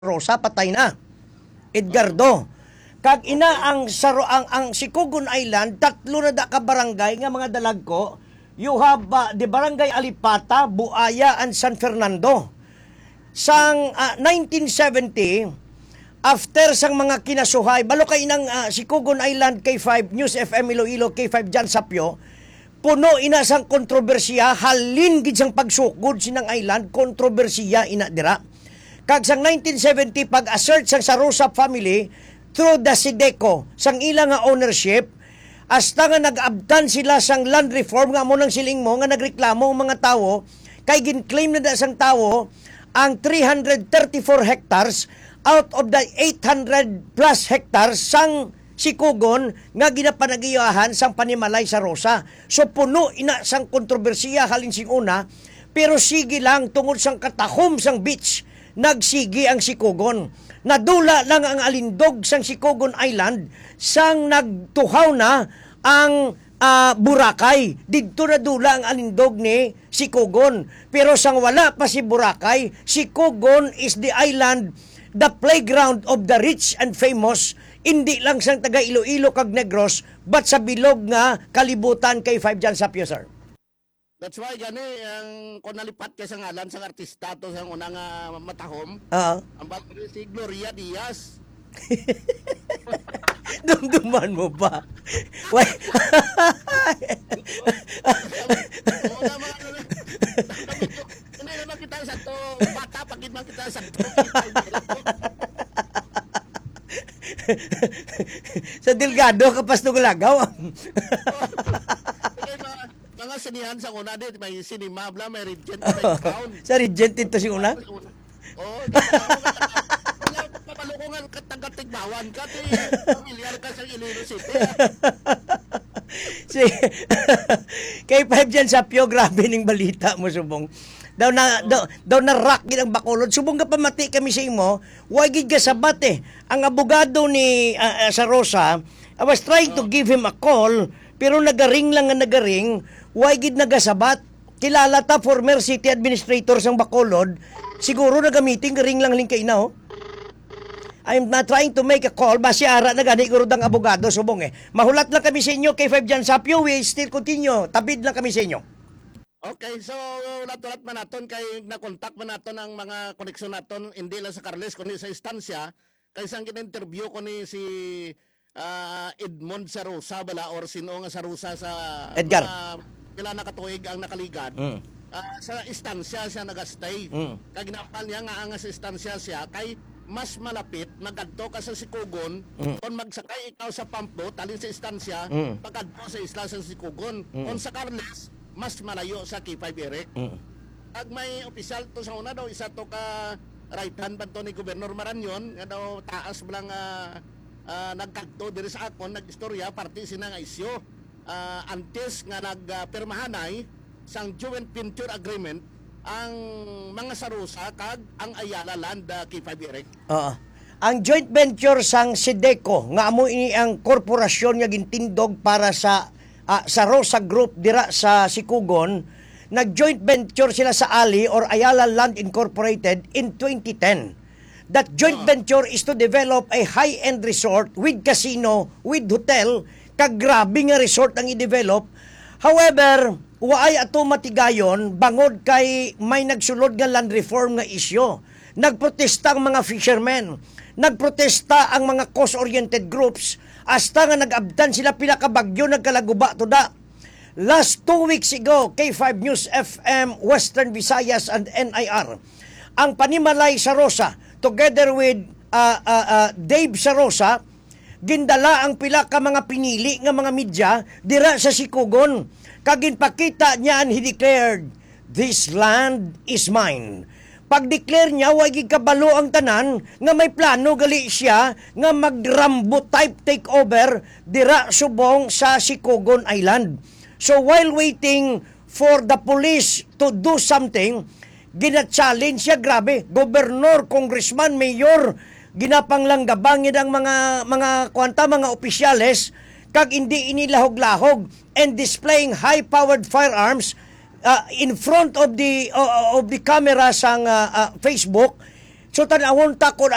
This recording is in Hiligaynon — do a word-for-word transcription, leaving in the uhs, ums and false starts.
Rosa, patay na. Edgardo. Kag ina ang Saro-, ang, ang Sicogon Island, tatlo na da ka barangay nga mga dalagko. You have, uh, the Barangay Alipata, Buaya, and San Fernando. Sang, uh, nineteen seventy, after sang mga kinasuhay, balo kay inang, uh, Sicogon Island, K five News F M Iloilo, K five Jan Sapyo, puno ina sang kontrobersiya, halin gid sang pagsukod sinang island, kontrobersiya ina dira. Kag sang nineteen seventy, pag-assert sang Sarosa family through the Sideco sang ila nga ownership, hasta nga nag-abtan sila sang land reform, nga amo nang siling mo nga nagreklamo ang mga tawo, kay gin-claim na da sang tawo ang three hundred thirty-four hectares out of the eight hundred plus hectares sang Sicogon nga ginapanagiyahan sang panimalay sa Rosa. So, puno ina sang kontrobersiya halin sing una, pero sige lang, tungod sang katahom sang beach, nagsigi ang Sicogon. Nadula lang ang alindog sang Sicogon Island sang nagtuhaw na ang, ah, Boracay. Didto nadula ang alindog ni Sicogon. Pero sang wala pa si Boracay, Sicogon is the island, the playground of the rich and famous, indi lang sang taga Iloilo kag Negros, but sa bilog nga kalibutan. K five Jan Sapyo, sir. That's why gani ang, kung nalipat kay sa ngalan sang artista to, sang una nga matahom, Oo. Ang bag-, si Gloria Diaz. Dumduman mo ba? Why? Oo, na, mga ano na. Hindi naman kita sa to, bata pa gid man kita sa to. Sa Delgado, kapas nung lagaw. Hindi, mga, mga sinihan sa una, di, may cinema, bla, may Regent, may Crown. Sa Regent ito si una? Oo, di ba? Wala, wala, papaluko nga ka-, taga Tigbawan ka, di, familiar ka sa Iloilo City, ah. Si K five Jan Sapyo, grabe ning balita mo, subong. Daw na, daw, daw na-rock gid ang Bacolod. Subong nga pamati kami sa imo, wa gid ka sabat, eh. Ang abogado ni, ah, ah, sa Rosa, I was trying to give him a call, pero nagaring lang nga nagaring, wa gid nagasabat. Kilala ta, former city administrator sang Bacolod. Siguro nagamiting, ring lang ling kaina, oh. I'm not trying to make a call, basi ara na gani guro dang abogado, subong, eh. Mahulat lang kami sa inyo, K five Jan Sapyo, we still continue. Tabid lang kami sa inyo. Okay, so, hulat-hulat man naton kay nakontak man naton ang mga koneksyon naton, hindi lang sa Carles, kundi sa istansya, kay sang gin-interview ko ni si, ah, Edmond Sarosa bala, or sino nga Sarosa sa Edgar. Mga pila na katuig ang nakaligad. Mm. Ah, sa istansya siya nagastay. Mm. Kag ginapal niya nga ang sa istansya siya kay mas malapit magadto ka sa Sikugon. Mm. Kung magsakay ikaw sa pampo talin sa istansya, Mm. pagkadto sa isla sa Sikugon. Mm. Kung sa Carles, mas malayo sa K five Eric. Mm. Ag may opisyal to sa una daw, isa to ka right hand ba to ni Gobernador Marañon, nga daw taas mo lang, ah, ah, nagkadto diri sa akon, nag-istorya, parte sina nga isyu. Ah, antes nga nag, ah, pirmahanay sang joint venture agreement ang mga Sarosa kag ang Ayala Land, ah, K five Eric. Oo. Ang joint venture sang Sideco, nga amo ini ang korporasyon nga gintindog para sa, ah, Sarosa Group dira sa Sikugon, nag-joint venture sila sa Ali or Ayala Land Incorporated in twenty ten. That joint Ah. venture is to develop a high-end resort with casino, with hotel, kag grabe nga resort ang i-develop. However, waay ato matigayon bangod kay may nagsulod nga land reform nga isyu. Nagprotesta ang mga fishermen. Nagprotesta ang mga cause-oriented groups. Hasta nga nag-abtan sila pila ka bagyo, nagkalaguba to da. Last two weeks ago, K five News F M Western Visayas and N I R, ang Panimalay Sarosa, together with, ah, ah, ah, Dave Sarosa, gindala ang pila ka mga pinili nga mga media dira sa Sikugon. Kag ginpakita niya, and he declared, "This land is mine." Pag-declare niya, wa gid kabalo ang tanan nga may plano gali siya nga mag-Rambo type takeover dira subong sa Sikugon Island. So, while waiting for the police to do something, gina-challenge siya, grabe, gobernador, congressman, mayor, ginapanglanggabangan ang mga, mga, kuwan ta, mga opisyales, kag hindi ini lahog-lahog and displaying high-powered firearms, ah, in front of the, uh, of the camera sang, ah, ah, Facebook, So, tan-awon ta kung